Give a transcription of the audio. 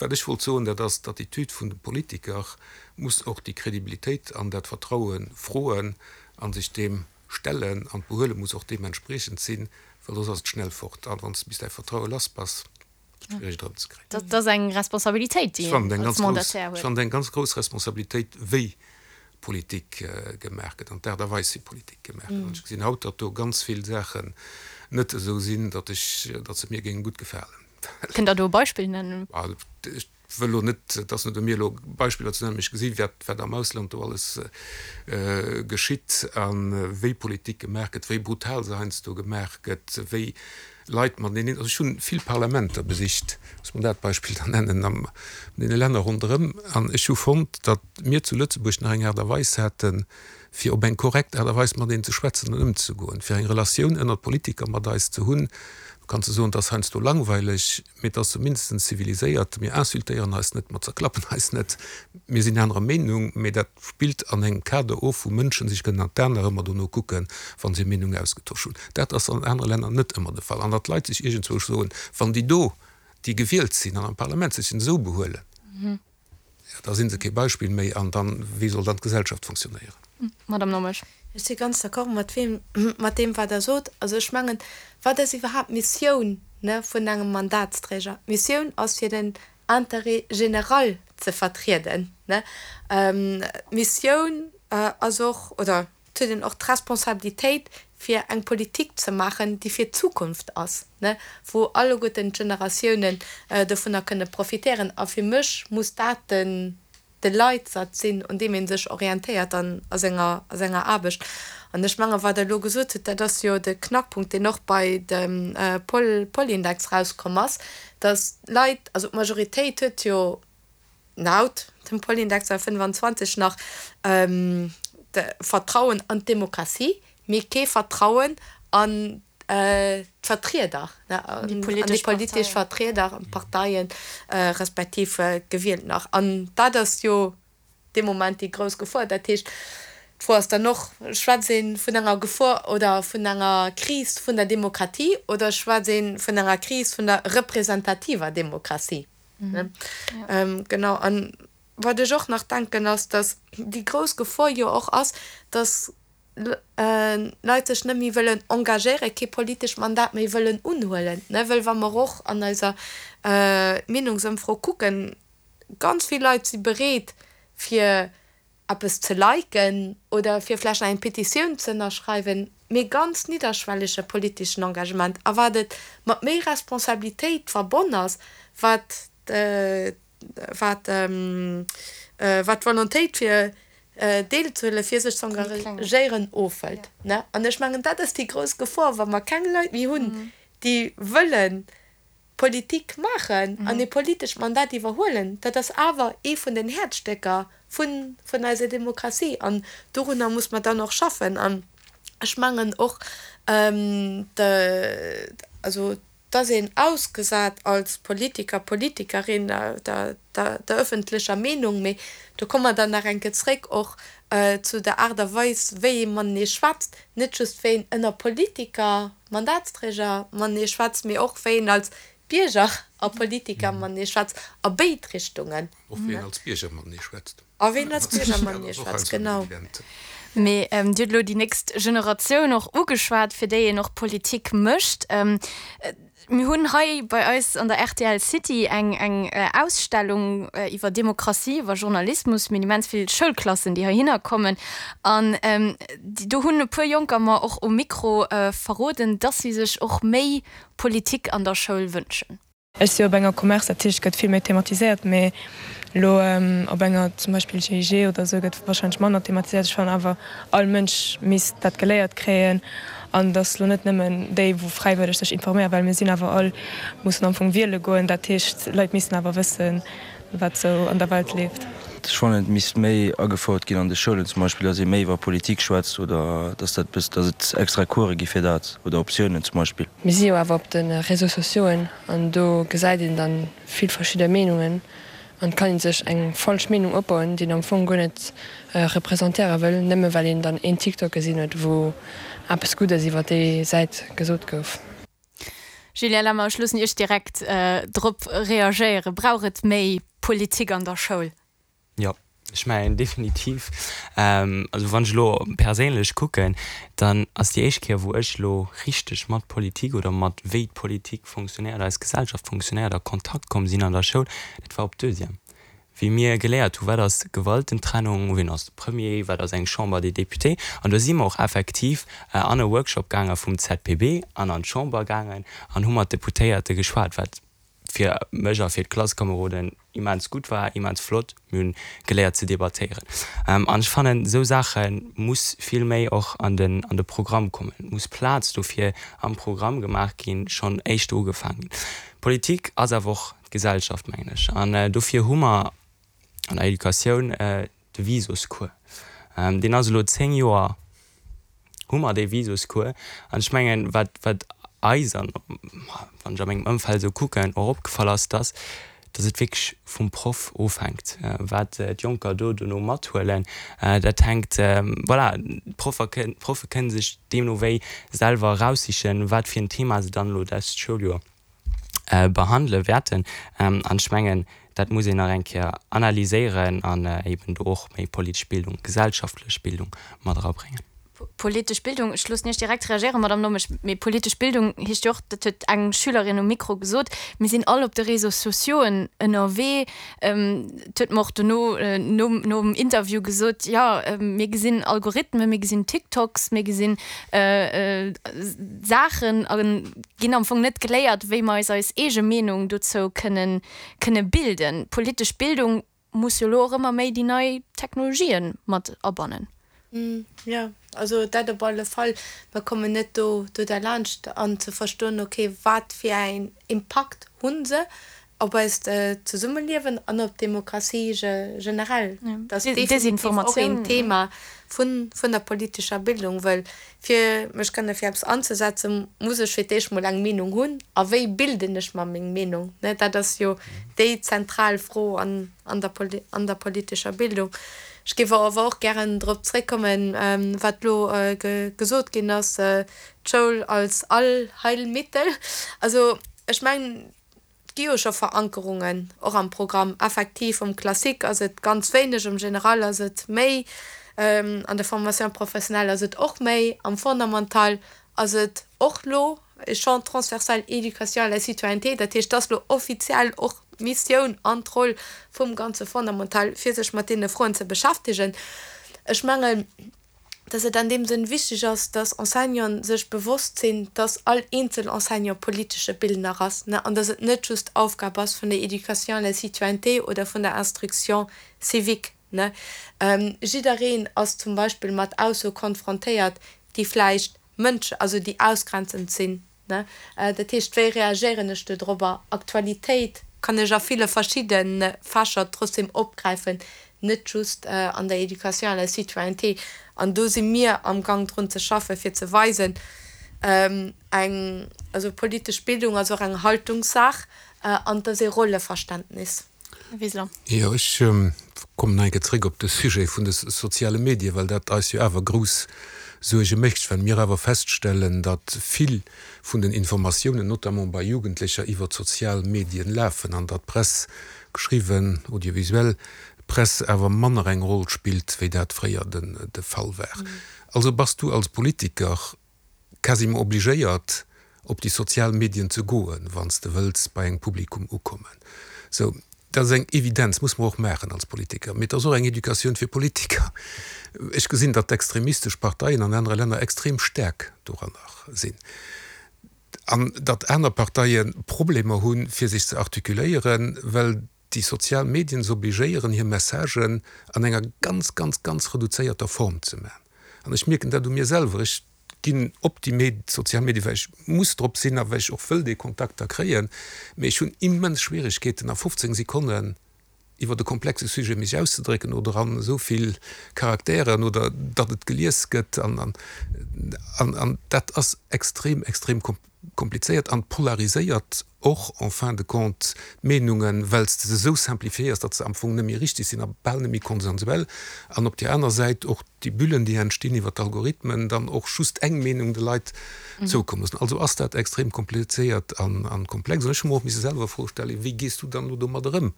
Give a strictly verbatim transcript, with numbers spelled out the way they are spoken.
Wat ech wollt soen, dat ass, d'Attitüd vun de Politiker muss och déi Kredibilitéit an dat Vertraue froen a sech deem stellen, an d'Behuele muss och deementspriechend sinn, well soss ass et schnell fort. A wann s de bis däi Vertraue lass bass, ass et schwiereg et erëmzekréien. Dat ass eng Responsabilitéit, déi een als Mandataire huet. Ech fannen et eng ganz grouss Responsabilitéit, wéi Politik gemaach gëtt an d'Aart a Weis, wéi Politik gemaach gëtt. An ech gesinn haut, datt do ganz vill Saachen net esou sinn, datt ech, datt se mir géinge gutt gefalen. Kënnt Der do e Beispill nennen? Ech wëll elo net, et ass net u mir elo Beispiller ze nennen, mee ech gesi wat, wat am Ausland do alles geschitt a wéi Politik gemaach gëtt, wéi brutal se heiansdo gemaach gëtt, wéi Leit mateneen, also ech hu vill Parlamenter besicht, muss mer dat Beispill dann nennen, an deene Länner ronderëm, an ech hu fonnt, datt mir zu Lëtzebuerg nach eng Aart a Weis haten, fir op eng korrekt Aart a Weis mateneen ze schwätzen an ëmzegoen, fir eng Relatioun ënnert Politiker mat eis ze hunn. Du kanns de soen, et ass heiansdo langweileg, mee et ass zumindest ziviliséiert. Mir insultéieren eis net, mer zerklappen eis net, mir sinn anerer Meenung, mee dat spillt an engem Kader of, wou Mënschen sech kënnen an d'Aen nach ëmmer dono kucken, wa se hir Meenung ausgetosch hunn. Dat ass an anere Länner net ëmmer de Fall. An datt d'Leit sech iergendzwousch soen, wann déi do, déi gewielt sinn an am Parlament sëtzen, esou behuelen, jo, da si se kee Beispill méi. An dann, wéi soll dann d'Gesellschaft fonctionnéieren? Madame Nommesch. Ech si ganz d'accord mat weem, mat deem, wat Der sot. Also ech mengen, wat ass iwwerhaapt d'Missioun, ne, vun engem Mandatsträger? D'Missioun ass, fir den Intérêt général ze vertrieden, ne. D'Missioun ass och, oder et huet een och d'Responsabilitéit, fir eng Politik ze maachen, déi fir d'Zukunft ass, ne, wou alleguerten d'Generatiounen dovunner kënne profitéieren. A fir mech muss dat den de Leitsatz sinn, un deem ee sech orientéiert an a senger a senger Aarbecht. An ech mengen, wat Der elo gesot hutt, dat ass jo de Knackpunkt, deen och bei dem Pol Polindex rauskomm ass, dass d'Leit, also d'Majoritéit huet jo laut dem Polindex fënnefanzwanzeg nach de Vertrauen an d'Demokratie, mee kee Vertrauen an d'Vertrieder, an déi politesch Vertrieder, an d'Parteien, respektiv d'Gewielten nach. An dat ass jo dee Moment déi grouss Gefor. Dat heescht, d'Fro ass dann och, Schwätzt ee vun enger Gefor oder vun enger Kris vun der Demokratie oder schwätzt ee vun enger Kris vun der representativer Demokratie? Genau. An wat ech och nach denken, ass, datt déi grouss Gefor jo och ass, datt Leit sech net méi wëllen engagéieren, kee politescht Mandat méi wëllen unhuelen. Well wa mer och an eiser Meenungsëmfro kucken, ganz vill Leit si bereet fir eppes ze liken oder fir vläicht nach eng Petitioun ze ënnerschreiwen, mee ganz nidderschwellege politeschen Engagement. A wat et mat méi Responsabilitéit verbonn ass, wat wat wat d'Volontéit fir deelzehuelen, fir sech ze engagéieren, ofhëlt. An ech mengen, dat ass déi grouss Gefor, wa mer keng Leit méi hunn, déi wëlle Politik maachen an e politescht Mandat iwwerhuelen. Dat ass awer ee vun den Häerzstécker vun vun eiser Demokratie an dorunner muss mer dann och schaffen. An ech mengen och, de, also Et ass een ausgesat als Politiker, Politikerin der der ëffentlecher Meenung, mee do komme mer dann nach eng Kéier zréck och zu der Aart a Weis, wéi ee matenee schwätzt, net just wéi een ënner Politiker, Mandatsträger matenee schwätzt, mee och wéi een als Bierger a Politiker matenee schwätzt, a béid Richtungen. Och wéi een als Bierger matenee schwätzt. A wéi een als Bierger matenee schwätzt, genau. Mee Dir hutt elo déi nächst Generatioun och ugeschwat, fir déi een och Politik mécht. Mir hunn hei bei eis an der rtl City eng eng Ausstellung iwwer Demokratie, iwwer Journalismus. Mir hunn immens vill Schoulklassen, déi heihinner kommen. An do hunn e puer Jonker mer och um Mikro verroden, dass si sech och méi Politik an der Schoul wënschen. Ech si op enger Commerce, dat heescht et gëtt vill méi thematiséiert, mee elo op enger zum Beispill G I G oder esou gëtt warscheinlech manner thematiséiert. Ech fannen awer all Mënsch misst dat geléiert kréien an dass elo net nëmmen déi wou fräiwëlleg sech informéieren, well mir sinn awer all, mussen am Fong wiele goen, dat heescht Leit missten awer wëssen wat sou an der Welt leeft. Ech fannen et misst méi agefouert ginn an de Schoulen zum Beispill, dass ee méi iwwer Politik schwätzt oder dass dat bëss, dass et extra Course gi fir dat oder Optiounen zum Beispill. Mir si jo awer op de Réseaux sociauxen an do gesäit een dann vill verschidde Meenungen an et kann een sech eng falsch Meenung opbauen, déi een am Fong guer net representéiere wëll, nëmme well een dann een TikTok gesinn huet, wou eppes Guddes iwwer déi Säit gesot gouf. Julien Lemmer, ech loossen Iech direkt drop reagéieren. Brauch et méi Politik an der Schoul? Jo, ech mengen definitiv. Also wann ech elo perséinlech kucken, dann ass déi éischt Kéier wou ech elo richteg mat Politik oder mat wéi d'Politik fonctionnéiert, eis Gesellschaft fonctionnéiert a Kontakt komm sinn an der Schoul, dat war op Deuxième, wéi mir geléiert hu wat ass Gewaltentrennung, wien ass de Premier, wat ass eng Chambre des Députés. An do si mer och effektiv an e Workshop gaange vum ZPB an an d'Chamber gaangen an hu mat Deputéierte geschwat, wat fir mech a fir d'Klasskameroden immens gutt war, immens flott. Mir hunn geléiert ze debattéieren. An ech fannen, esou Saache muss vill méi och an den an de Programm kommen. Et muss Plaz dofir am Programm gemaach ginn, schonn éischter ugefaangen ginn. Politik ass awer och d'Gesellschaft, mengen ech. An dofir hu mer an der Educatioun de Visuscours. Deen ass elo zéng Joer hu mer dee Visuscours. An ech mengen, wat wat eis an, wann ech a mengem Ëmfeld esou kucken, och opgefall ass, dass dass et wierklech vum Proff ofhänkt, wat d'Jonker do dono mathuelen. Dat hänkt, voilà, d'Proffer kënnen, d'Proffe kënnen sech deemno wéi selwer eraussichen, wat fir en Thema se dann elo dest Schouljoer behandele wäerten. An ech mengen, dat muss een nach eng Kéier analyséieren an eben do och méi politesch Bildung, gesellschaftlech Bildung mat erabréngen. Politesch Bildung, ech loossen Iech direkt reagéieren, Madamm Nommesch, mee politesch Bildung heescht jo och, dat huet eng Schülerin um Mikro gesot, mir sinn all op de Réseaux sociauxen ënnerwee. Et huet mer och dono nom nom Interview gesot, jo, mir gesinn Algorithmen, mir gesinn TikToks, mir gesinn Saachen a ginn am Fong net geléiert, wéi mer eis eis eege Meenung dozou kënnen kënne bilden. Politesch Bildung muss jo elo och ëmmer méi déi nei Technologien mat abannen. Jo, also dat op alle Fall. Mer kommen net do do derlaanscht an ze verstoen, okay, wat fir een Impakt hu se op eist Zesummeliewen an op d'Demokratie generell. Dat ass definitiv och een Thema vun vun der politescher Bildung, wëll fir mech kënne fir eppes anzesetzen, muss ech fir d'éischt mol eng Meenung hunn. A wéi bilden ech mer meng Meenung? Dat ass jo déi zentral Fro an an der an der politescher Bildung. Ech géif awer och gären drop zréckkommen, wat elo gesot ginn ass, d'Schoul als Allheilmittel. Also ech mengen, et gi jo scho Verankerungen och am Programm. Effektiv, um Classique ass et ganz wéineg, um Général ass et méi, an der Formation professionnelle ass et och méi, am Fondamental ass et och lo e Champ transversal Éducation à la citoyenneté. Dat heescht, et ass lo offiziell och d'Missioun an d'Roll vum ganze Fondamental, fir sech mat deene Froen ze beschäftegen. Ech mengen, dass et an deem Sënn wichteg ass, dass Enseignanten sech bewosst sinn, dass all eenzel Enseignant politesche Bildner ass an dass et net just Aufgab ass vun der Éducation à la citoyenneté oder vun der Instruction civique. Jiddereen ass zum Beispill mat Aussoe konfrontéiert, déi vläicht Mënsch, also déi ausgrenzend sinn. Dat heescht, wéi reagéieren ech do dorobber? Aktualitéit kann ech a ville verschidde Fächer trotzdem opgräifen, net just an der Éducation à la citoyenneté. An do si mir am Gang drun ze schaffen, fir ze weisen, eng, also politesch Bildung ass och eng Haltungssaach an et ass ee Rolleverständnis. Här Wiseler. Jo, ech kommen nach eng Kéier zréck op de Sujet vun de soziale Medien, well dat eis jo awer grouss Suerge mécht, well mir awer feststellen, datt vill vun den Informatiounen, notamment bei Jugendlecher, iwwer d'sozial Medien lafen an datt d'Press, geschriwwen, audiovisuell Press, awer manner eng Roll spillt, wéi dat fréier de Fall war. Also bass du als Politiker quasiment obligéiert, op déi sozial Medien ze goen, wann s de wëlls bei engem Publikum ukommen. Sou, dat ass eng Evidenz, muss mer och maachen als Politiker. Mee et ass och eng Educatioun fir Politiker. Ech gesinn, datt d'extremistesch Parteien an anere Länner extrem staark doranner sinn an datt aner Parteie Problemer hunn, fir sech ze artikuléieren, well déi sozial Medien se obligéieren, hir Messagen an enger ganz, ganz, ganz reduzéierter Form ze maachen. An ech mierken dat u mir selwer, ech ginn op déi sozial Medien, well ech muss drop sinn a well ech och wëll déi Kontakter kréien, mee ech hunn immens Schwieregkeeten, a fofzéng Sekonnen iwwer e komplexe Sujet mech auszedrécken oder an esou vill Charakteren oder datt et gelies gëtt an an an an dat ass extrem extrem komplizéiert an polariséiert och en fin de compte d'Meenungen, well s de se esou simplifiéiers, datt se am Fong net méi richtig sinn a bal net méi konsensuell an op där aner Säit och déi Bullen, déi entstinn iwwer d'Algorithmen, dann och just eng Meenung de Leit zoukomme loossen. Also ass dat extrem komplizéiert an komplex. An ech hu mer och misse selwer Fro stellen, Wéi gees du dann elo domadder ëm?